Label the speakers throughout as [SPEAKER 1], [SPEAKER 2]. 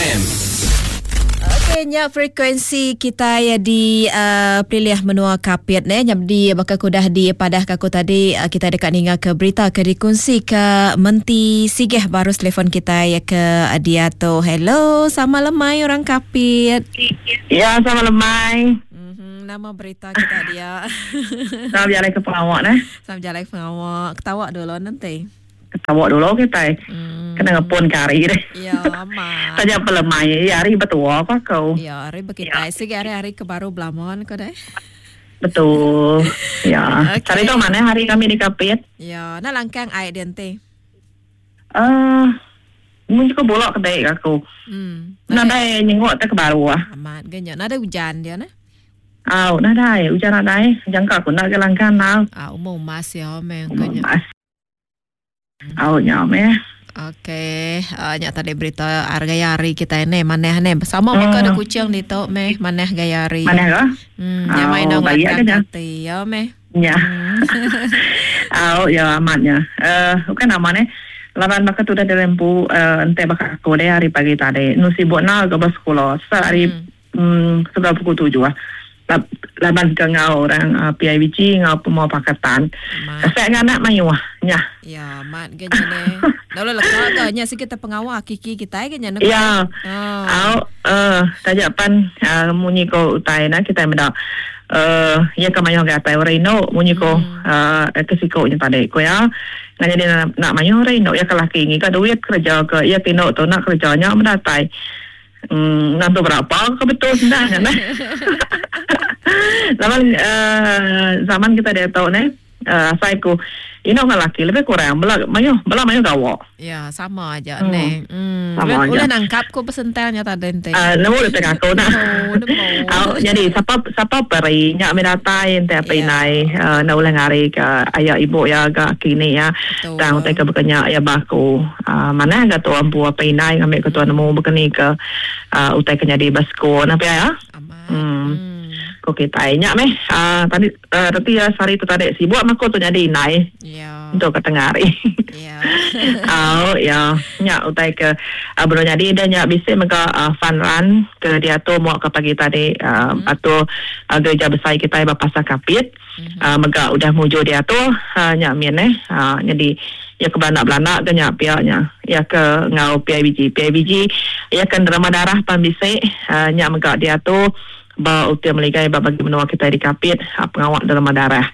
[SPEAKER 1] FM.
[SPEAKER 2] Okey nya frekuensi kitai di uh, pilih menua Kapit ne nya di baka ku udah dipadah ka aku tadi uh, kitai deka ninga ke berita ke dikunsi ke Menti Sigeh baru telefon kitai ke diatu. Hello, sama lemai orang Kapit.
[SPEAKER 3] Ya, sama lemai.
[SPEAKER 2] Mm-hmm, nama berita kita dia?
[SPEAKER 3] Sama berjalai ke pengawak neh.
[SPEAKER 2] Sama berjalai ke pengawak. Ketawa dulu nanti.
[SPEAKER 3] Ketawa dulu kitai. Hmm. Kena ngepun ke hari deh.
[SPEAKER 2] Ya, amat.
[SPEAKER 3] Taja pelemai, ya hari betua ko aku.
[SPEAKER 2] Ya, hari bekitai. Ya. Sigi hari-hari ke baru belamon ko deh.
[SPEAKER 3] Betul. Ya. Okay. Hari tu mana hari kami di Kapit?
[SPEAKER 2] Ya, nak langkang ai dia nanti.
[SPEAKER 3] Eh, uh, mun cukup bolok kedai aku. Hmm. Nadai nyenguk te ke baru ah.
[SPEAKER 2] Amat genya. Nadai hujan dia nah.
[SPEAKER 3] Au, nadai hujan nadai. Jangka aku nak ke langkang nau.
[SPEAKER 2] Ah, umur mas ya meh.
[SPEAKER 3] Umur mas. Au nya meh.
[SPEAKER 2] Okey, uh, nya tadi berita gaya hari kita ini manah ni. Sama uh. baka ada kucing ditu meh manah gaya hari.
[SPEAKER 3] Manah ke?
[SPEAKER 2] Hmm, nya mai dong hati ya meh.
[SPEAKER 3] Ya. Au ya amat nya. Eh uh, bukan nama ni. Laban baka tu dah dilempu uh, ente baka aku deh hari pagi tadi. Nu sibuk na ke bersekolah. Sehari hmm. Sebelum pukul tujuh ah. Laban ke enggau orang uh, PIBG enggau pemua pakatan. Kasih dengan anak mayuh nya.
[SPEAKER 2] Ya, mat ke nya ne. Lalu leka ke nya sikit terpengawa kiki kita ke nya ne.
[SPEAKER 3] Ya. Oh. Au eh taja pan uh, munyi ko utai na kita meda eh uh, ya ke mayuh ke atai orang indu munyi ko hmm. uh, ke siko nya tadi ko ya. Ngan jadi nak, nak mayuh orang indu ya ke laki ngiga duit kerja ke ya ke indu tu nak kerja nya mendatai. Hmm, nak tu berapa ke betul senang kan? Zaman uh, zaman kita dia tahu ni, uh, asal aku ini orang lelaki lebih kurang bela mayuh bela mayuh gawa.
[SPEAKER 2] Ya, sama aja hmm. ni. Hmm. Sama aja. Boleh nangkap ko pesentangnya tadi ente.
[SPEAKER 3] Uh, nemu dia tengah aku nak. Nemu. Uh, jadi siapa siapa peri nyak mi datai ente apa yeah. inai uh, nak ulang hari ke ayah ibu ya ke kini ya. Tang utai ke bekenya ya baku. Uh, mana ga tuan empu apai indai ngambi ke tuan nemu bekeni ke uh, utai ke nyadi ba sekul nah pia ya. Hmm. Ko kitai nya meh uh, tadi uh, reti ya sehari tu tadi sibuk mah ko tu nyadi indai.
[SPEAKER 2] Ya.
[SPEAKER 3] Untuk ke tengah hari.
[SPEAKER 2] Ya.
[SPEAKER 3] Au ya nya utai ke uh, belum nyadi dah nya bisi mega uh, fun run ke diatur muak ke pagi tadi uh, hmm. atur uh, gereja besai kitai ba Pasar Kapit. Mm-hmm. Mega udah mujur diatur uh, nya min eh uh, jadi ya ke belanda-belanda ke nya pia nya ya ke ngau PIBG PIBG ya ke nerima darah pan bisi uh, nya mega diatur ba util meligai ba bagi menua kita di Kapit uh, pengawa nerima darah.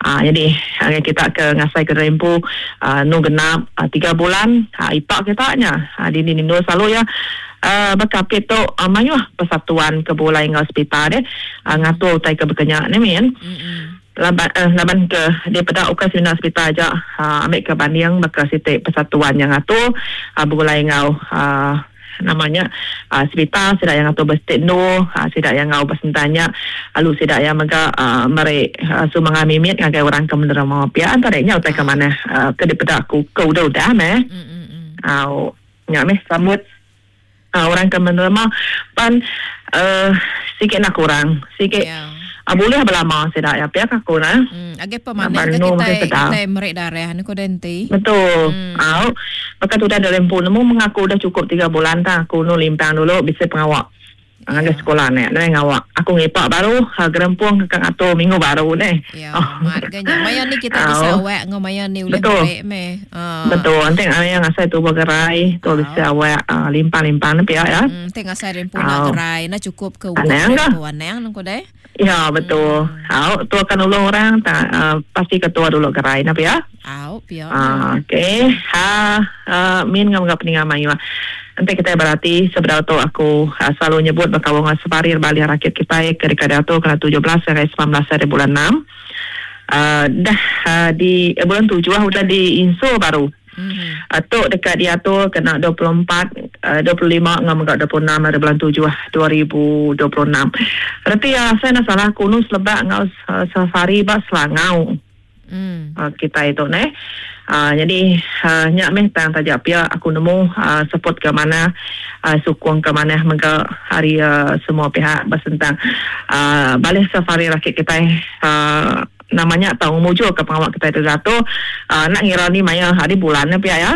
[SPEAKER 3] Uh, jadi uh, kita ke ngasai ke rempu uh, nu genap uh, 3 bulan uh, ipak kita nya uh, di nindu selalu ya uh, ba Kapit tu uh, mayuh persatuan ke bulai enggau sepital deh uh, ngatur utai ke bekenya ni min. Laban uh, laban ke dia peda ukai semina sepital aja uh, ambil ke banding baka siti persatuan yang ngatur uh, begulai enggau uh, namanya uh, sepital sida yang ngatur bestit nu uh, sida yang ngau besentanya lalu sida yang mega uh, meri uh, sumbangan mimit ngagai orang ke menerima pia antara nya utai ke mana uh, ke dipeda aku ke udah-udah meh. Au nya meh sambut Uh, orang ke menerima pan uh, sikit nak kurang sikit yeah. uh, boleh belama sida ya pihak aku nah
[SPEAKER 2] hmm age pemanen ke kita kita merik darah ni ko denti
[SPEAKER 3] betul hmm. Au maka tu dah dalam pun nemu mengaku dah cukup 3 bulan tak aku nu limpang dulu bisa pengawak Ngagai sekolah ne, ne ngawak. Aku ngipak baru, ha, gerempung ke atur minggu baru ne.
[SPEAKER 2] Ya, oh. mat ganya. Maya ni kita bisa awak ngau maya ni ulih
[SPEAKER 3] Betul.
[SPEAKER 2] meh.
[SPEAKER 3] Uh. Betul. Nanti yang ngasai tu bergerai, tu bisa awak uh, limpang-limpang ne pia ya.
[SPEAKER 2] Hmm, teng ngasai rempu nak gerai, na cukup ke umur rempu anang nang deh.
[SPEAKER 3] Ya, betul. Hmm. Au, tu akan ulung orang tak uh, pasti ketua dulu gerai na pia.
[SPEAKER 2] Au, pia.
[SPEAKER 3] Uh, okey. Ha, uh, min ngam ngap peninga mayu. Enti kitai berati, sebedau tu aku selalu nyebut bekaul enggau separir balih rakit kitai ke deka diatur kena 17 ngagai 19 hari bulan enam. Dah di bulan tujuh udah diinsur baru. Tu deka diatur kena 24, 25 enggau mega 26 hari bulan tujuh 2026. Reti iya asai enda salah aku nu selebak enggau safari ba Selangau.
[SPEAKER 2] Mm.
[SPEAKER 3] Uh, kitai tu neh. Uh, jadi uh, nya meh tang taja pia aku nemu uh, support ke mana uh, sukung ke mana mega hari uh, semua pihak bersentang uh, balih safari rakit kitai uh, Nama nya tau ngemujur ke pengawa kitai tu diatu uh, nak ngira ni maya hari bulan ne pia ya.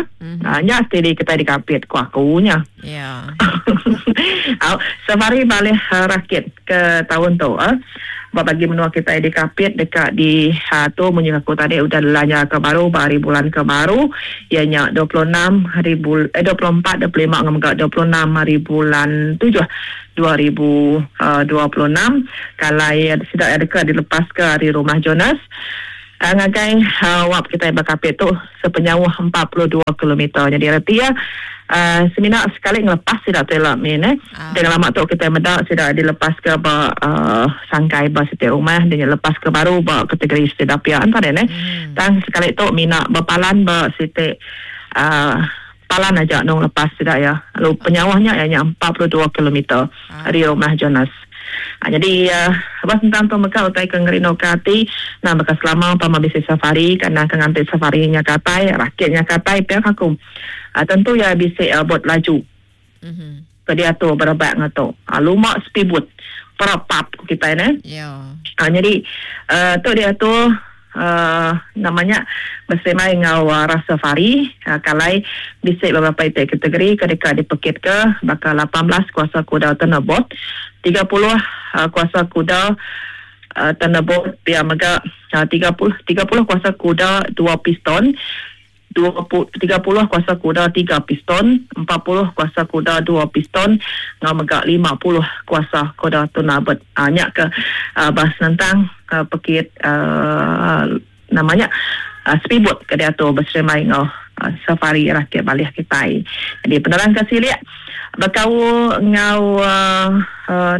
[SPEAKER 3] Nya stidi kitai dikapit ku aku nya.
[SPEAKER 2] Ya.
[SPEAKER 3] Au, safari balih rakit ke taun tu eh. Ba bagi menua kitai di Kapit deka di tu munyi aku tadi udah dilanja ke baru ba hari bulan ke baru iya nya 26 hari bul eh 24 25 enggau mega 26 hari bulan tujuh 2026 kalai sida iya deka dilepaska ari Rumah Jonas ngagai wap kitai ba Kapit tu sepenyauh 42 kilometer. Nyadi reti iya semina sekali ngelepas sida tu ila min eh. Enti lama tu kitai meda sida dilepaska ba sangkai ba siti rumah dia nya lepaska baru ba kategori siti dapia entah deh neh. Tang sekali tu mina bepalan ba siti palan aja nung lepas sida iya. Lalu penyauh nya iya nya 42 kilometer ari rumah Jonas. Nyadi ba sentang tu mega utai ke ngerinduka ati endang baka selama pama bisi safari ke endang ke nganti safari nya ke atai rakit nya ke atai pia ka aku. Tentu iya bisi bot laju ke diatu berebak enggau tu. Luma speedboat perapap ku kitai neh. Nyadi tu diatu Nama nya beserimbai enggau Rastafari kalai bisi beberapa iti kategori ke deka dipekitka baka 18 kuasa kuda Thunderbolt, 30 kuasa kuda Thunderbolt pia mega 30 kuasa kuda dua piston, 30 kuasa kuda tiga piston, 40 kuasa kuda dua piston enggau mega 50 kuasa kuda tunabet. Nya ke ba senentang pekit nama nya speedboat ke diatur beserimbai enggau safari rakit balih kitai. Jadi penerang ke silik bekaul enggau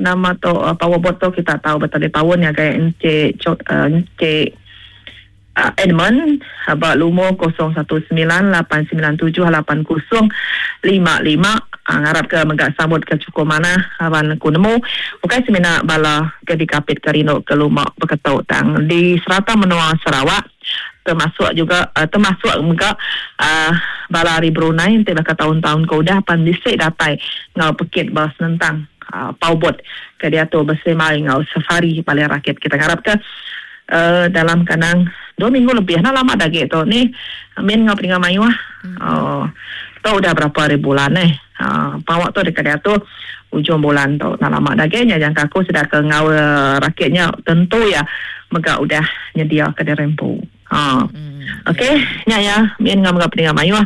[SPEAKER 3] nama tu powerboat tu kita tau betalipaun ngagai Encik Encik Edmund ba lumur 0198978055 ngarap ke mega sambut ke chukup manah laban ku nemu ukai semina bala ke dikapit ke rindu ke luma beketu tang di serata menua Sarawak termasuk juga termasuk mega bala ari Brunei enti baka taun-taun ke udah pan bisi datai enggau pekit ba senentang powerboat ke diatu beserimbai enggau safari balai rakit kita ngarap ke Dalam kandang dua minggu lebih enda lama da agi tu ni min enggau peninga mayuh uhh tu udah berapa hari bulan eh uhh pawa tu deka diatur ujung bulan tu enda lama da agi nya jangka aku sida ke enggau rakit nya tentu iya mega udah nyedia ke diri empu uhh ok nya iya min enggau mega peninga mayuh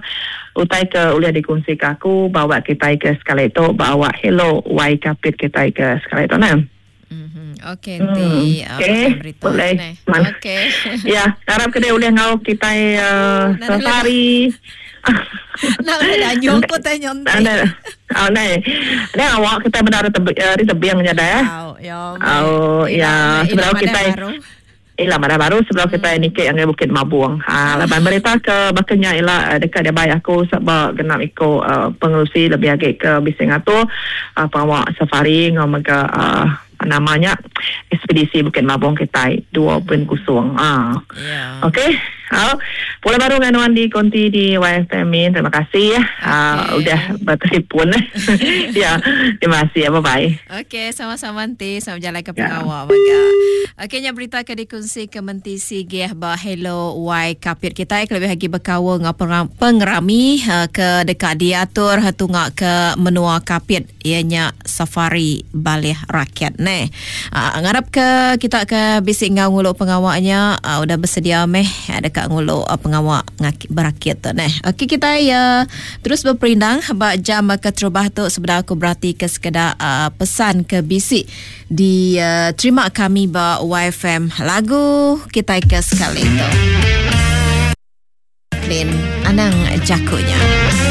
[SPEAKER 3] utai ke ulih dikunsi ke aku ba awak kitai ke sekali tu ba awak hello wai kapit kitai ke sekali tu nah.
[SPEAKER 2] Okey enti
[SPEAKER 3] Okey, boleh.
[SPEAKER 2] Okey.
[SPEAKER 3] Ya, harap ke dia ulih enggau kitai safari.
[SPEAKER 2] Nak ulih danyung ko tanya enti.
[SPEAKER 3] Oh, nai. Nai awak kitai bendar ari tebing nya deh.
[SPEAKER 2] Oh,
[SPEAKER 3] ya. Sebedau kitai Ila madah baru sebedau kitai niki ngagai Bukit Mabong. Haa laban berita ke baka nya ila deka dibai aku seba genap iku pengerusi lebih agi ke bisi ngatur pengawa safari enggau mega nama nya ekspedisi Bukit Mabong kitai 2.0. Haa. Okey. Au pulai baru ngan nuan di konti di YFM min. Terima kasih okay. Udah bertelefon. Ya, terima kasih. Bye bye.
[SPEAKER 2] Okey, sama-sama enti sama bejalai ke pengawa mega. Okey, nya berita ke dikunsi ke Menti Sigih ba Hello Y Kapit kitai kelebih agi bekaul enggau pengerami ke deka diatur tunga ke menua Kapit iya nya Safari Balih Rakyat neh. Ngarap ke kita ke bisi enggau ngulu pengawa nya udah besedia meh deka ngulu pengawa berakit tu neh. Okey kitai terus beperindang ba jam keterubah tu sebedau aku berati ke sekeda pesan ke bisi diterima kami ba YFM lagu kitai ke sekali tu. Lin anang jaku nya.